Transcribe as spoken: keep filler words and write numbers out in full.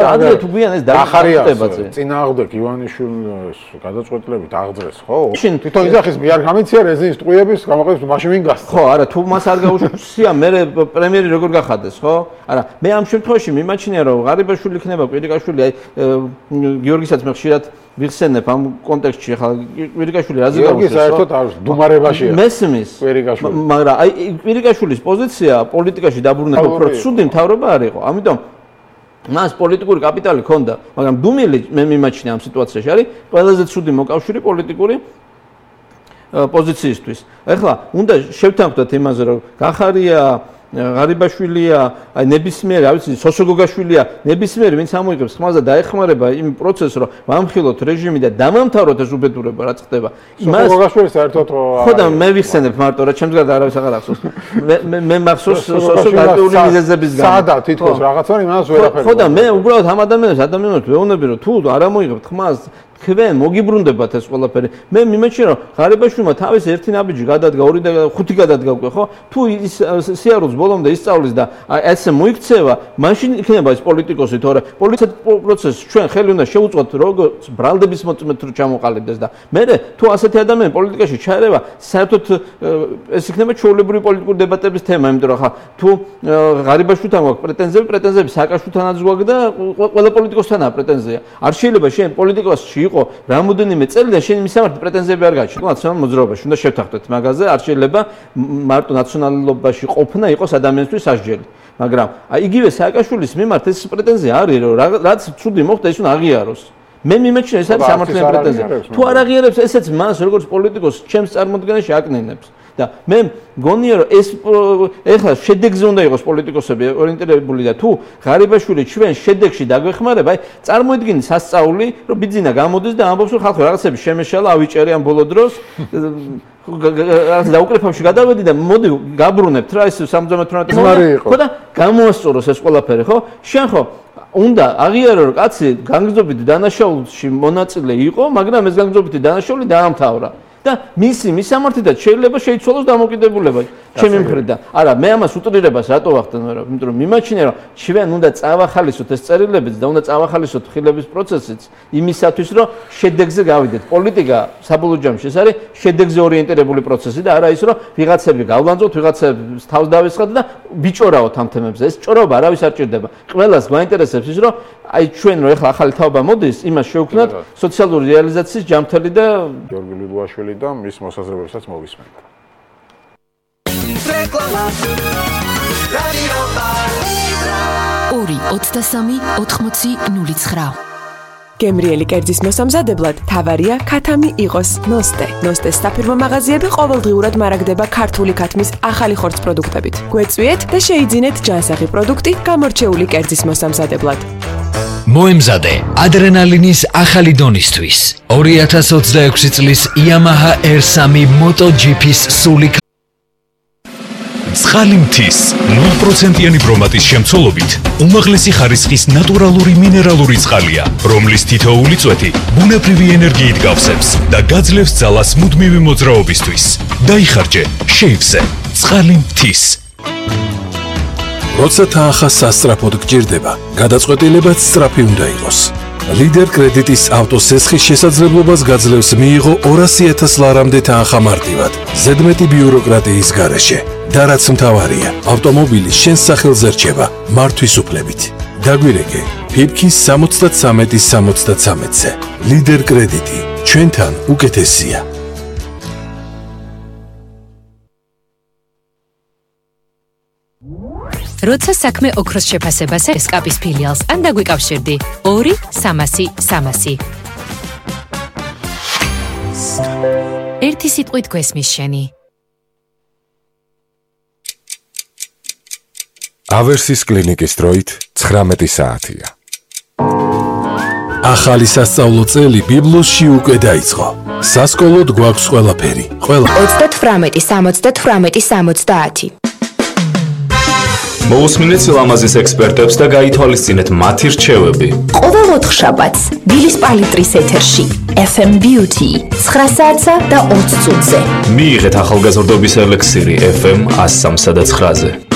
ადრე თუ გვიან ეს დახარიებაზე. წინააღმდეგ ივანიშვილის გადაწყვეტილებით აღძრეს, ხო? თვითონ იძახის მე არ გამიცია რეზინის ტყუების გამოყენების მაშინ ვინ გასცა? ხო, არა, თუ მას არ გაუშვია, მე პრემიერი როგორ გახადეს, ხო? არა, მე ამ შემთხვევაში მიმაჩნია, რომ ღარიბაშვილი იქნება, კვირიკაშვილი, აი გიორგისაც მე ხშირად ვიხსენებ ამ კონტექსტში, ხა კვირიკაშვილი რაზე გავუშვეს? გიორგი საერთოდ არის დუმარებაშია. მესმის. კვირიკაშვილი. მაგრამ აი კვირიკაშვილის პოზიცია პოლიტიკაში დაბრუნება უფრო ცუდი მთავრობა არ იყო. ამიტომ მას პოლიტიკური კაპიტალი ჰქონდა, მაგრამ დუმილი მე მიმაჩნია ამ სიტუაციაში არის ყველაზე ცუდი მოკავშირე პოლიტიკური პოზიციისთვის. ეხლა უნდა შევთანხმდეთ იმაზე, რომ გახარია ღარიბაშვილია, აი ნებისმიერი, რა ვიცი, სოსოგოგაშვილია, ნებისმიერი ვინც ამოიღებს ხმას და დაეხმარება იმ პროცესს, რომ ვამხილოთ რეჟიმი და დამამთავროთ ეს უბედურება, რაც ხდება. სოსოგოგაშვილი საერთოდ ხო და მე ვიხსენებ მარტო, რა ჩემს გარდა არავის აღარ ახსოვს. მე მე მახსოვს სოსოგოგაშვილი მიზეზების გამო. სადა თითქოს რაღაცა იმას ვერაფერი. ხო და მე უბრალოდ ამ ადამიანებს ადამიანებს ვეუბნები, რომ თუ არ ამოიღებთ ხმას თქვენ მოგიბრუნდებათ ეს ყველაფერი. მე მიმაჩნია რომ ღარიბაშვილმა თავის ერთი ნაბიჯი გადადგა, ორი და ხუთი გადადგა უკვე, ხო? თუ ის სიარულს ბოლომდე ისწავლის და ესე მოიქცევა, მაშინ იქნება ეს პოლიტიკოსი, თორე პოლიტიკურ პროცესს ჩვენ ხელი უნდა შევუწყოთ როგორც ბრალდების მოწმეთ რომ ჩამოყალიბდეს და მე თუ ასეთი ადამიანი პოლიტიკაში ჩაერევა, საერთოდ ეს იქნება ჩვეულებრივი პოლიტიკური დებატების თემა, იმიტომ რომ ხა თუ ღარიბაშვილთან გვაქვს პრეტენზიები, პრეტენზიები სააკაშვილთანაც გვაქვს და ყველა პოლიტიკოსთანაა პრეტენზია. არ შეიძლება შენ პოლიტიკოსში იყო რამოდენიმე წელი და შენ მისამართი პრეტენზიები არ გაჩნდა. ნაციონალურ მოძრაობაში უნდა შევთანხმდეთ მაგაზე, არ შეიძლება მარტო ნაციონალობაში ყოფნა იყოს ადამიანისთვის სასჯელი. მაგრამ აი იგივე სააკაშვილის მიმართ ეს პრეტენზია არის, რომ რაც ცუდი მოხდა, ის უნდა აღიაროს. მე მიმაჩნია ეს არის სამართლიანი პრეტენზია. თუ არ აღიარებს, ესეც მას როგორც პოლიტიკოს ჩემს წარმოდგენაში აკნინებს. და მე მგონია რომ ეს ეხლა შედეგზე უნდა იყოს პოლიტიკოსები ორიენტირებული და თუ ღარიბაშვილი ჩვენ შედეგში დაგვეხმარება, აი წარმოიდგინე სასწაული, რომ ბიძინა გამოდის და ამბობს რომ ხალხო რაღაცები შემეშალა, ავიჭერი ამ ბოლო დროს რაღაც დაუკრეფავში გადავედი და მოდი გაბრუნებთ რა ეს სამოცდამეტ ხო და გამოასწოროს ეს ყველაფერი, ხო? შენ ხო უნდა აღიარო რომ კაცი განგრძობითი დანაშაულში მონაწილე იყო, მაგრამ ეს განგრძობითი დანაშაული დაამთავრა. და მისი მისამართიდან შეიძლება შეიცვალოს დამოკიდებულება ჩემი მხრიდან. არა, მე ამას უტრირებას რატო ვახდენ, იმიტომ რომ მიმაჩნია რომ ჩვენ უნდა წავახალისოთ ეს წერილებიც და უნდა წავახალისოთ ხილების პროცესიც იმისათვის რომ შედეგზე გავიდეთ. პოლიტიკა საბოლოო ჯამში ეს არის შედეგზე ორიენტირებული პროცესი და არა ის რომ ვიღაცები გავლანძოთ, ვიღაცებს თავს დავესხათ და ვიჭორავთ ამ თემებზე. ეს ჭორობა არავის არ ჭირდება. ყველას გვაინტერესებს ის რომ აი ჩვენ რომ ახლა ახალი თაობა მოდის, იმას შევქმნათ სოციალური რეალიზაციის ჯამთელი და გიორგი ლუდვაშვილი და მის მოსაზრებებსაც მოვისმენთ. ორი ოცდასამი ოთხმოცი ნული ცხრა გემრიელი კერძის მოსამზადებლად თავარია ქათამი იყოს ნოსტე. ნოსტეს საფირმო მაღაზიები ყოველდღიურად მარაგდება ქართული ქათმის ახალი ხორცს პროდუქტებით. გვეწვიეთ და შეიძინეთ ჯანსაღი პროდუქტი გამორჩეული კერძის მოსამზადებლად. მოემზადე ადრენალინის ახალი დონისთვის. ორი ათას ოცდაექვსი წლის Yamaha R three MotoGP-ის სული წყალი მთის ნულ პროცენტიანი ბრომატის შემცველობით უმაღლესი ხარისხის ნატურალური მინერალური წყალია, რომლის თითოეული წვეთი ბუნებრივი ენერგიით გავსებს და გაძლევს ძალას მუდმივი მოძრაობისთვის. დაიხარჯე შეივსე წყალი მთის. როცა თანხა სასწრაფოდ გჭირდება, გადაწყვეტილებაც სწრაფი უნდა იყოს. ლიდერ კრედიტის ავტოსესხის შესაძლებლობას გაძლევს მიიღო ორასი ათას ლარამდე თანხა მარტივად, ზედმეტი ბიუროკრატიის გარეშე. და რაც მთავარია, ავტომობილი შენს სახელზე რჩება მართვის უფლებით. დაგვირეკე ფიფქის სამოცდათრამეტი სამოცდათრამეტზე. ლიდერ კრედიტი ჩვენთან უკეთესია. როცა საქმე ოქროს შეფასებაზე სკაპის ფილიალს ან დაგვიკავშირდი ორი სამასი სამასი. ერთი სიტყვით გვესმის შენი. ავერსის კლინიკის დროით ცხრამეტი საათია. ახალი სასწავლო წელი ბიბლოსში უკვე დაიწყო. სასკოლოდ გვაქვს ყველაფერი. ყველა ოცდათვრამეტი სამოცდათვრამეტი სამოცდაათი. მოусმინეთ სილამაზის ექსპერტებს და გაითვალისწინეთ მათი რჩევები. ყოველ ოთხშაბათს დილის პალიტრის ეთერში F M Beauty ცხრა საათსა და ოცდ წუთზე. მიიღეთ ახალგაზრდობის ელექსირი F M one oh three და nine-ზე.